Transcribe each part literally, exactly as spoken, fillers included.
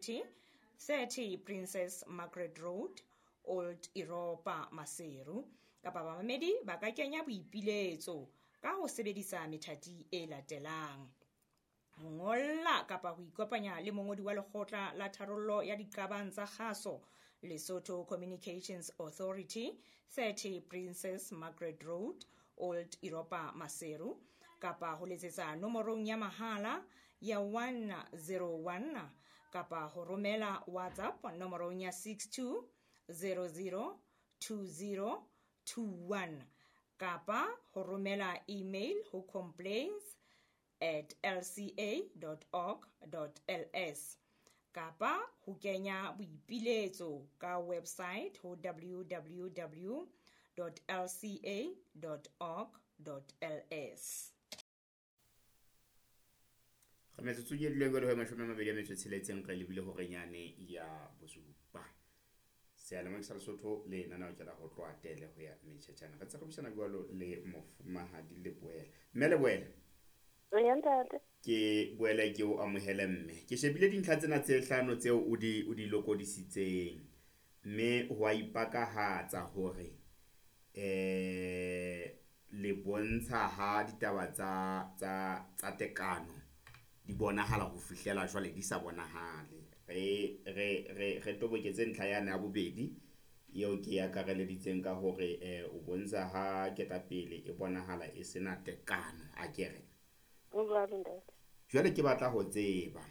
thirty Princess Margaret Road, Old Europa, Maseru. Kapa bamamedi ba ka kenya boipiletso ka ho sebedisa methati e latelang: ho ngolla kapa ho ikopanya le mongodi wa lekgotla la tharollo ya diqabang tsa kgaso, Lesotho Communications Authority, thirty Princess Margaret Road, Old Europa, Maseru, kapa ho letsetsa nomorong ya mahala ya one zero one kapa ho romela WhatsApp nomorong ya six two zero zero two zero two one kapa ho romela email ho complaints at l c a dot org dot l s kapa ho kenya boipiletso ka website ho w w w dot l c a dot org dot l s. Re metsotso e dileng jwale ho mashome a mabedi a metso e tsheletseng re lebile hore nyane ya bosupa. Seyalemoya sa Lesotho le lenaneo ke la ho tloha tele ho ya metjhetjhana. Re ntse re buisana jwalo le mofumahadi Leboela. Mme Leboela. Eya, ntate. Ke boele ke o amohele mme. Ke shebile dintlha tsena tse hlano tseo o di, o di lokodisitseng. Mme ho a ipakahatsa hore, eh, le bontsha ha ditaba tsa, tsa, tsa tekano di bonahala ho fihlela jwale di sa bonahale. Re, re, re, re toboketse ntlha yane ya bobedi eo ke e akareleditseng ka hore, eh, o bontsha ha ketapele e bonahala e sena tekano, a ke re. Ho jwalo, ntate. Jwale ke batla ho tseba,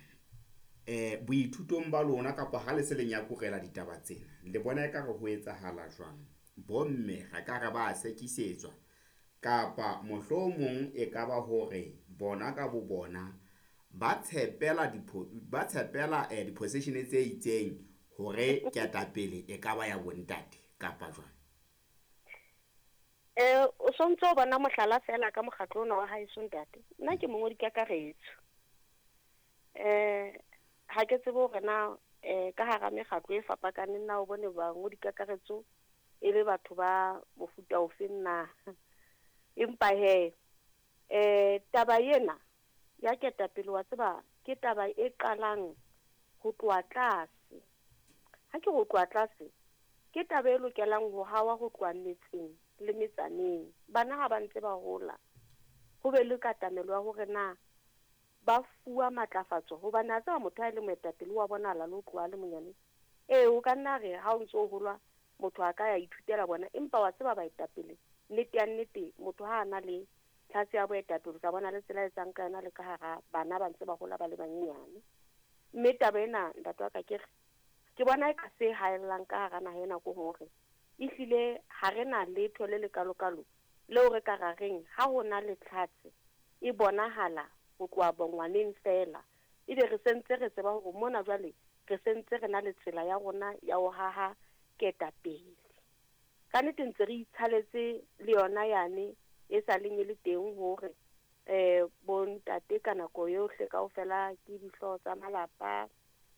eh, boithutong ba lona kapa ha le se le nyakurela ditaba tsena, le bona ekare ho etsahala jwang? Bomme re ka re ba sekisetswa kapa mohlomong e ka ba hore bona ka bo bona ba tshepela dipho-, ba tshepela, eh, di-position tse itseng hore ketapele e ka ba ya bontate kapa jwang? Eh, o sontso o bona mohlala fela ka mokgatlo ona wa haeso ntate. Nna ke mongodi kakaretso. Eh, ha ke tsebe hore na, eh, ka hara mekgatlo e fapakaneng na o bone bangodi kakaretso e le batho ba mofuta ofeng na. Empa he, eh, taba ena ya ketapele wa tseba ke taba e qalang ho tloha tlase. Ha ke ho tloha tlase, ke taba e lokelang ho hawa ho tloha metseng le metsaneng. Bana ha ba ntse ba hola, ho be le katamelo ya hore na ba fuwa matlafatso, hobane a tseba motho ha e le moetapele wa bonahala le ho tloha le monyane. Ee, o ka nna re ha o ntso o holwa motho a ka ya ithutela bona, empa wa tseba baetapele, nnete ya nnete, motho ha a na le tlhase ya boetapele, o tla bona le tsela e etsang ka yona le ka hara bana ba ntse ba hola ba le banyenyane. Mme taba ena, ntate wa ka, ke re, ke bona e ka se haellang ka hara naha ena ke hore ehlile ha re na letho le lekalokalo leo re ka ra reng ha ho na le tlhatse e bonahala ho tloha bongwaneng feela, ebe re sentse re tseba hore mona jwale re sentse re na le tsela ya rona ya ho haha ketapele. Ka nnete ntse re itshaletse le yona yane e sa leng e le teng hore, eh, bontate ka nako yohle kaofela ke dihlooho tsa malapa,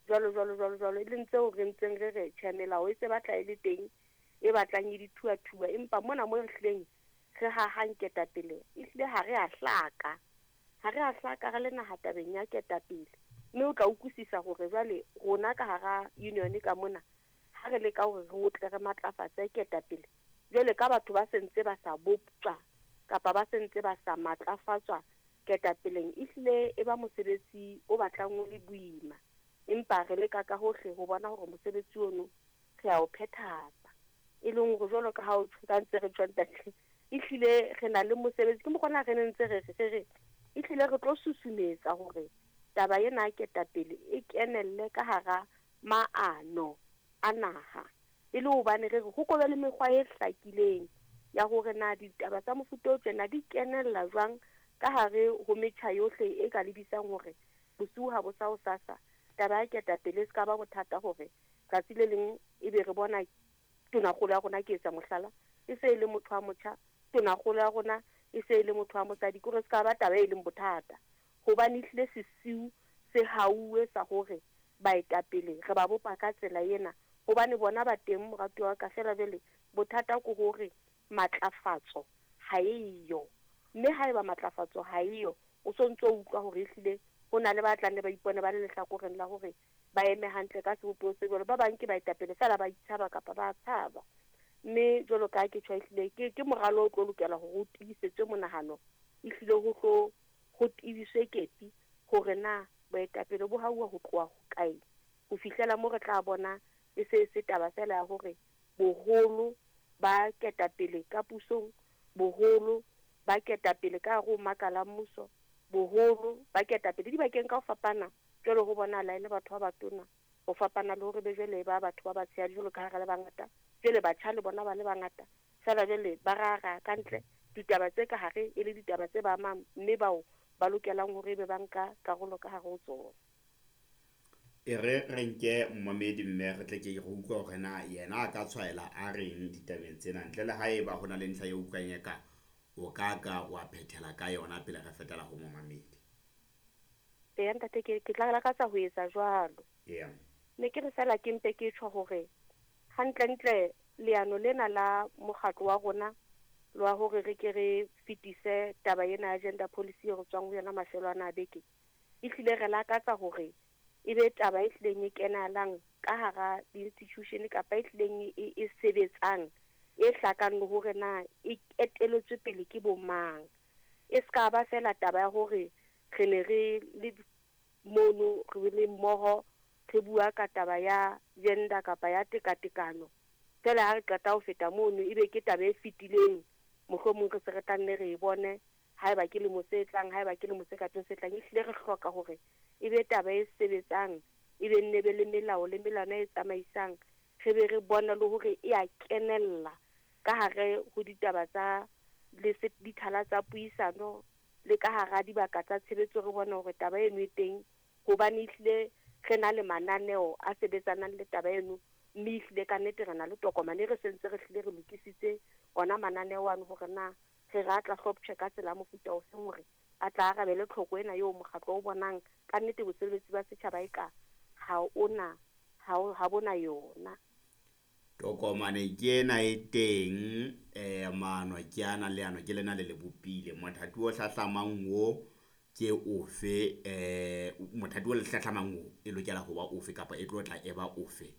jwalo, jwalo, jwalo, jwalo, e leng tseo re ntseng re re tjhe, melao e se batla e le teng, e batlang e dithuathuwa, empa mona mo re hlileng re hahang ketapele, ehlile ha re a hlaka. Ha re a hlaka re le naha tabeng ya ketapele. Mme o tla utlwisisa hore jwale rona ka hara union ka mona, ha re leka hore re otle re matlafatse ketapele, jwale ka batho ba sentse ba sa boptjwa kapa ba sentse ba sa matlafatswa ketapeleng, ehlile e ba mosebetsi o batlang o le boima. Empa re leka ka hohle ho bona hore mosebetsi ono re a o phethahatsa. E leng hore jwalo ka ha o tjho, ka ntse re tjho ntate, ehlile re na le mosebetsi. Ke mokgwa ona re ne ntse re re, re re, ehlile re tlo susumetsa hore taba ena ya ketapele e kenelle ka hara maano a naha. E le hobane re re ho ko be le mekgwa e hlakileng ya hore na ditaba tsa mofuta o tjena di kenella jwang ka hare ho metjha yohle e ka lebisang hore bosiu ha bo sa ho sasa taba ya ketapele e se ka ba bothata hore tsatsi le leng ebe re bona tonakgolo ya rona, ke etsa mohlala, e se e le motho wa motjha, tonakgolo ya rona e se e le motho wa mosadi, ke hore se ka ba taba e leng bothata. Hobane ehlile sesiu se hauwe sa hore baetapele re ba bopa ka tsela ena, hobane bona ba teng moratuwa wa ka. Feela jwale bothata ke hore matlafatso ha eyo, mme haeba matlafatso ha eyo, o so ntso utlwa hore ehlile ho na le ba tlang le ba ipone ba le lehlakoreng la hore ba eme hantle ka sebopeho se jwalo. Ba bang ke baetapele feela ba itshaba kapa ba tshaba. Mme jwalo ka ke tjho ehlile ke ke moralo o tlo lokela hore o tiisetswe monahano, ehlile ho tlo ho tiiswe kepi hore na boetapele bo hauwa ho tloha hokae ho fihlela mo re tla bona e se se taba fela ya hore boholo ba ketapele ka pusong, boholo ba ketapele ka hare ho makala a mmuso, boholo ba ketapele dibakeng ka ho fapana. Jwale ho bonahala e le batho ba batona ho fapana le hore be jwale ba batho ba batshehadi jwalo ka ha re le bangata, jwale batjha le bona ba le bangata fela jwale ba rara ka ntle ditaba tse ka hare e le ditaba tse ba amang mme bao ba lokelang hore ebe ba nka karolo ka hare ho tsona. E re re nke momamedi mme re tle ke re utlwe hore na yena a ka tshwaela a reng ditabeng tsena, ntle le haeba ho na le ntlha e utlwang eka o ka ka wa phethela ka yona pele re fetela ho momamedi. Eya ntate, ke ke tla lakatsa ho etsa jwalo. Eya. Ne ke re fela ke mpe ke tjho hore hantlentle leano lena la mokgatlo wa rona lwa hore re ke re fetise taba ena ya gender policy e re tswang ho yona mafelo ana a beke, ehlile re lakatsa hore e be taba e hlileng e kenalang ka hara di-institution kapa e hlileng e, e sebetsang, e hlakang le hore na e eteletswe pele ke bo mang. E ska ba fela taba ya hore re ne re le mono re le mmoho re bua ka taba ya gender kapa ya tekatekano, fela ha re qeta ho feta mono ebe ke taba e fetileng, mohlomong re se re tla nne re e bone haeba ke lemo se tlang, haeba ke lemo se ka teng se tlang. Ehlile re hloka hore e be taba e sebetsang, e be nne be le melao le melwana e tsamaisang, re be re bone le hore e a kenella ka hare ho ditaba tsa le dithala tsa puisano le ka hara dibaka tsa tshebetso, re bone hore taba eno e teng, hobane ehlile re na le mananeo a sebetsanang le taba eno, mme ehlile ka nnete re na le tokomane re sentse re hlile re lokisitse ona mananeo ano hore na re re a tla hloptjhe ka tsela ya mofuta ofeng hore a tla arabele tlhoko ena eo mokgatlo o bonang ka nnete bosebeletsi ba setjhaba e ka ha ona ha ha bona yona. Tokomane ke ena e teng, eh maano ke ana leano ke lena le le bopile. Mothati o hlahlamang o ke ofe, eh mothati o le hlahlamang o e lokela ho ba ofe kapa e tlo tla e ba ofe?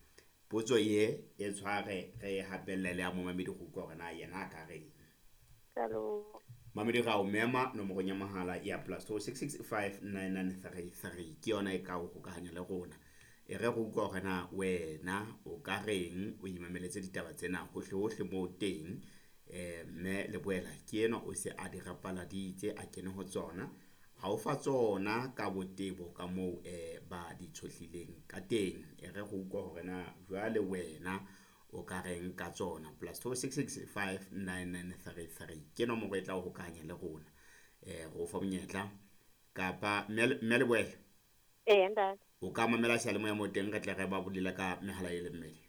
Potso ye e tshware re hapelle le ya momamedi go utlwa hore na yena a ka reng. Hello. Mamedi ra o mema nomorong ya mohala ya plus two six six five nine nine three three ke yona e ka o hokahanya le rona. E re go utlwa hore na wena o ka reng, o imameletse ditaba tsena hohle hohle moo teng. Eh mme Leboela ke enwa o se a di rapaladitse a kene ho tsona, ha o fa tsona ka botebo ka moo eh ba di tshohlileng ka teng. E re go utlwa hore na jwale wena o ka reng ka tsona. Plus two six six five nine nine three three ke nomoro e tla o hokahanya le rona. Eh go fa monyetla kapa mme Leboela. Ee ntate. O ka mamela seyalemoya mo teng re tle re ba bolela ka mehala e le mmedi.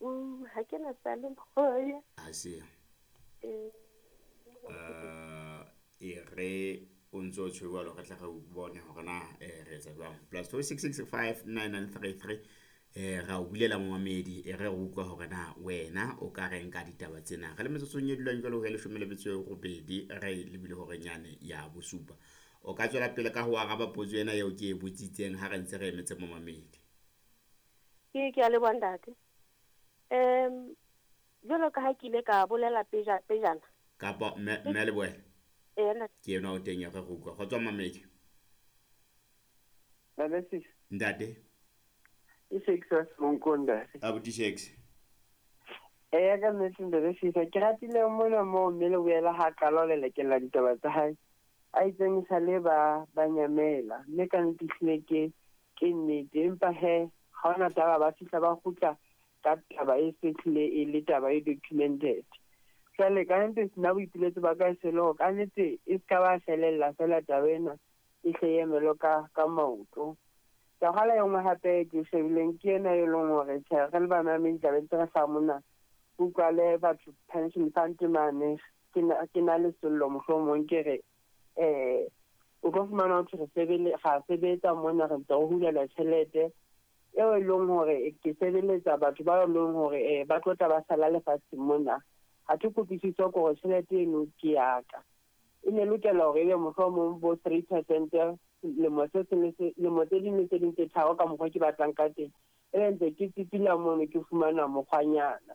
Mm, ha ke na seyalemoya. Ha se. Eh. Eh e re o ntso o tjho jwalo re tle re bone hore na eh re etsa jwang. Plus two six six five nine nine three three eh ra o bulela momamedi e re utlwa hore na wena o ka reng ka ditaba tsena. Re le metsotsong e dulang jwalo ho ya leshome le metso e robedi re lebile hore nyane ya bosupa. O ka tswela pele ka ho araba potso ena eo ke e botsitseng ha re ntse re emetse momamedi. Ke ke a leboha ntate. Em jwalo ka ha ke ile ka bolela peja pejana. Kapa mme mme Leboela. Ee ntate. Ke ena o teng ya re utlwa. Kgotsa mamedi. Ntate. Ntate. E six Monkonda. Abuti six. Eh ka nnete ntate sisa ke ratile mona mo mme Leboela ha qala le lekella ditaba tsa hae. A itseng sa le ba ba nyamela mme ka nnete hlile ke ke nnete, empa he ha ona taba ba fihla ba kgutla ka taba e setlile e le taba e documented. Jwale ka nnete nna boipiletso ba ka se le hore ka nnete e ska ba felella fela taba ena e hle e emelo ka ka maoto. Taba e nngwe hape ke shebileng ke ena e leng hore tjhe re le bamamedi tabeng tse re hlaha mona, utlwa le batho pension fund mane ke na ke na le sello mohlomong ke re eh o ka fumana ho re sebele ga sebetsa mona re ntse re hulela tjhelete eo e leng hore ke sebeletsa batho ba leng hore eh ba tlo tla ba sala lefatsheng mona. Ha ke kutlwisiso hore tjhelete eno ke ya ka. E ne lokela hore ebe mohlomong bo three percent lemo se seng se lemo tse ding le tse ding tse tharo ka mokgwa ke batlang ka teng. E be ntse ke tsitsila mono ke fumana mokgwanyana.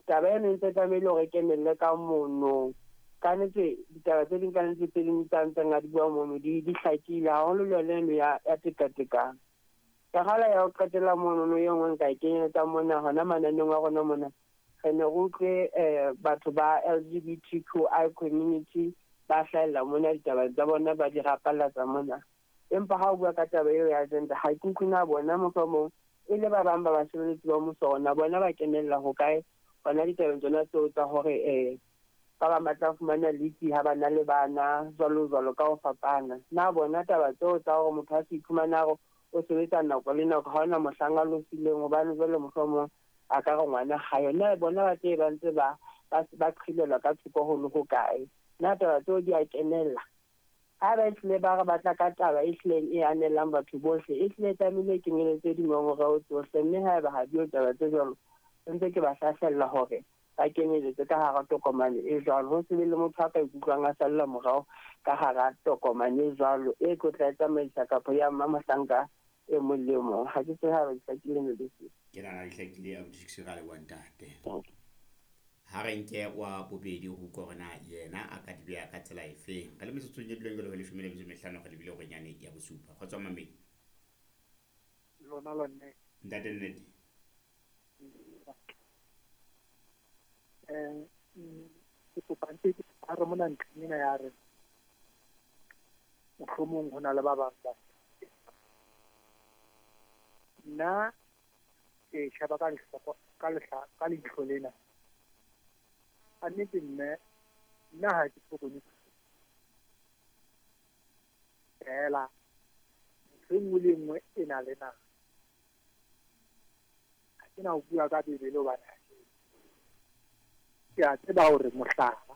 Taba eno e ntse tlamehile hore e kenelle ka mono. Ka nnete ditaba tse ding ka nnete tse ding tsa ntseng a di bua mono di di hlakile haholo le yona eno ya ya tekatekano. Ka gala ya ho qetela monono e nngwe nka e kenyeletsang mona hona mananeong a rona mona. Re ne re utlwe um batho ba L G B T Q I community ba hlahella mona ditaba tsa bona ba di rapallatsa mona. Empa ha o bua ka taba eo ya agenda ha ke utlwe na bona mohlomong e le ba bang ba basebeletsi ba mmuso ona bona ba kenella hokae hona ditabeng tsona tseo tsa hore um ba bang ba tla fumana leave ha ba na le bana jwalo jwalo ka ho fapana. Na bona taba tseo tsa hore motho a se iphumana hore o sebetsa nako le nako ha hona mohlang a lofileng hobane jwale mohlomong a ka re ngwana ha yona bona ba tse ba ntse ba ba qhilelwa ka thoko ho le hokae. Na taba tseo di a kenella. Ha ba ehlile ba re batla ka taba e hlileng e anelang batho bohle e hlile tlamehile e kenyeletse dingongoreo tsohle mme haeba ha di yo taba tse jwalo ntse ke ba hlahlella hore ba kenyeletse ka hara tokomane e jwalo ho se be le motho a ka ikutlwang a salla morao ka hara tokomane e jwalo e tlo tla tsamaisa kapa ya mma mohlanka e mong le mong. Ha ke tsebe ha ba di hlakile ne le se. Ke nahana di hlakile abuti ra leboha ntate. Ha re nke wa bobedi ho utlwa hore na yena a ka di beha ka tsela efeng. Re le metsotsong e dileng jwale ho leshome le metso e mehlano re lebile horeng yane ya bosupa. Kgotso mamedi. Lona la nnete. Ntate nnete. Eh ke kopa ntse ke ha re mona ntlheng ena ya re mohlomong ho na le ba bang ba nna ke sheba ka lehloko ka lehla ka leihlo lena. A nnete mme nna ha ke bone fela ntho e nngwe le nngwe e na le nako. Ha ke na ho bua ka Bibele hobane ha ke ke a tseba hore mohlala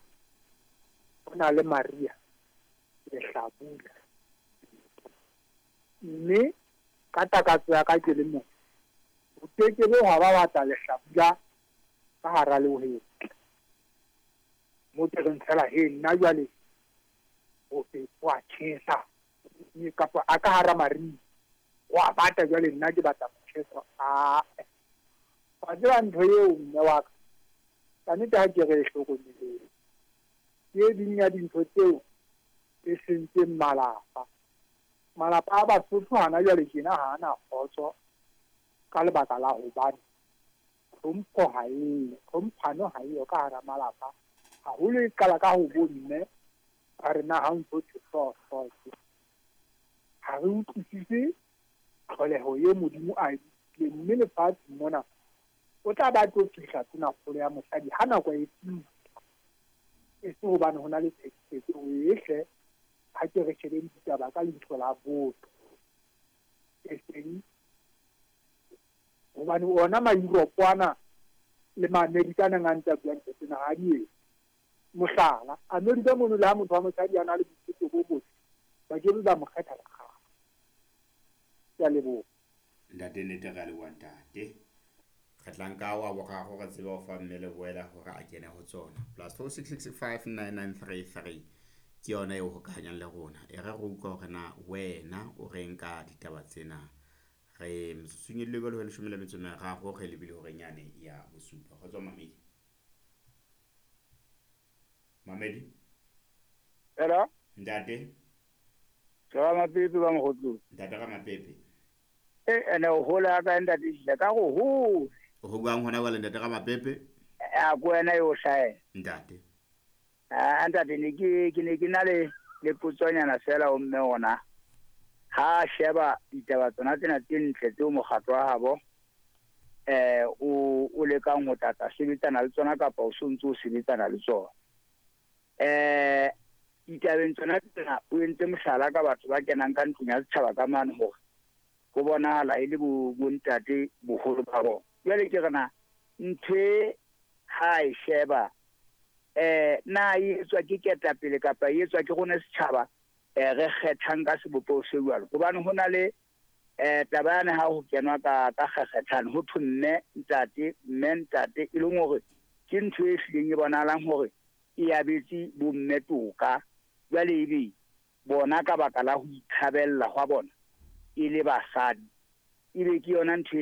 ho na le Maria lehlabula mme ka takatso ya ka ke le motho o kekebe hwa ba batla lehlabula ka hara lehwetla mo ke reng fela he nna jwale o fe wa tjhesa kapa a ka hara mariha wa bata jwale nna ke batla motjheso. A wa tseba ntho eo mme wa ka ka nnete ha ke re e hlokomeleng ke ding ya dintho tseo e sentseng malapa. Malapa a Basotho hana jwale tjena ha ana kgotso ka lebaka la hobane tlhompho ha eyo, tlhomphano ha eyo ka hara malapa. Haholo e qala ka ho bomme ba re na ha o ntso thwe hlooho ha re utlwisise tlholeho e Modimo a e bopileng mme lefatshe mona o tla ba tlo fihla tonakgolo ya mosadi ha nako e fihla e se hobane ho na le tlhekefetso ehle. Ha ke re shebe ditaba ka leihlo la botho e seng hobane ona ma-Europe ana le ma-America a nang a ntse a bua ntho tsena ha di etse. Mohlala America mono le ha motho wa mosadi a na le boithuto bo botle ba ke be ba mo kgetha le kgale. Ke a leboha. Ntate nnete re a leboha ntate. Re tla nka wa boraro re tsebe ho fa mme Leboela hore a kene ho tsona. Plus four six six five nine nine three three ke yona eo hokahanyang le rona. E re re utlwa hore na wena o reng ka ditaba tsena. Re metsotsong e lebelo ho leshome le metso e meraro re lebile horeng yane ya bosupa. Kgotso mamedi. Mamedi. Hello. Ntate. Ramapepe ba Mokgotlong. Ntate Ramapepe. Eh ene o hola ka ntate Shila ka go hole. O buang hona jwale ntate Ramapepe? A ko wena yo hlaela. Ntate. Ah ntate ne ke ke ne ke na le le potsonyana fela o mme ona. Ha sheba ditaba tsona tsena tse ntle tseo mokgatlo wa habo eh o o lekang ho tlatla sebetsana le tsona kapa o sontse o sebetsana le tsona. Eh ditabeng tsona tsena o entse mohlala ka batho ba kenang ka ntlong ya setjhaba ka mane hore ho bonahala e le bo bontate boholo ba bona. Jwale ke re na ntho e ha e sheba eh na e etswa ke ketapele kapa e etswa ke rona setjhaba eh re kgethang ka sebopeho se jwalo. Hobane ho na le eh taba yane ha ho kenwa ka ka kgekgethano ho thwe mme ntate mme ntate e leng hore ke ntho e hlileng e bonahalang hore e abetse bomme toka. Jwale ebe Bona ka baka la ho itshabella hwa bona e le basadi, ebe ke yona ntho e